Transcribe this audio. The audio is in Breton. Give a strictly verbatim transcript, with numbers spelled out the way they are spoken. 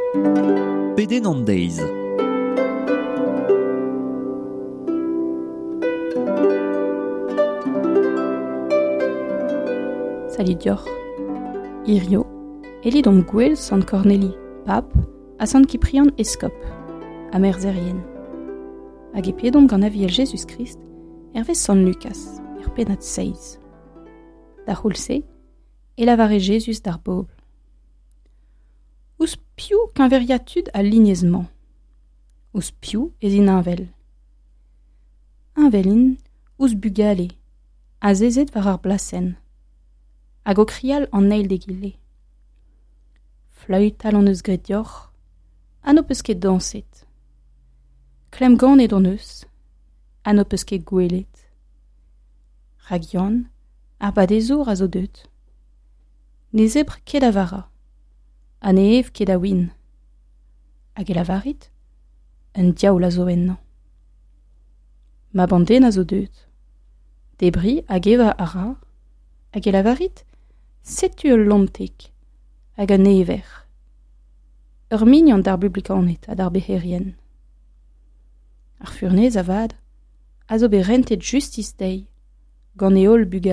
Pedenn an deiz. Salud deoc'h. Hirio, e lidomp gwell Sant Corneli, pap, ha Sant Kiprian eskob, ha merzherien. Hag e pedomp gant aviel Jezuz-Krist, hervez Sant Lukas, er pennad seizh. Da c'houlz-se, e lavare Jezuz d'ar bobl. Ouzh piv keñveriañ tud al lignez-mañ? Ouzh piv ez int heñvel? Heñvel int ouzh bugale, azezet war ar blasenn, hag o krial an eil d'egile. Fleütal hon eus graet deoc'h, ha n'ho peus ket dañset. Klemmganet hon eus, ha n'ho peus ket gwelet. Rak Yann, ar badezour a zo deuet. Ne zebr ket a vara, ha ne ev ket a win. Hag e lavarit, un diaoul a zo ennañ. Mab an den a zo deuet. Debriñ hag evañ a ra, hag e lavarit, setu ul lontek hag un ever. Ur mignon d'ar bublikaned ha d'ar bec'herien. Ar furnez avat a zo bet rentet justis dezhi gant e holl bugale.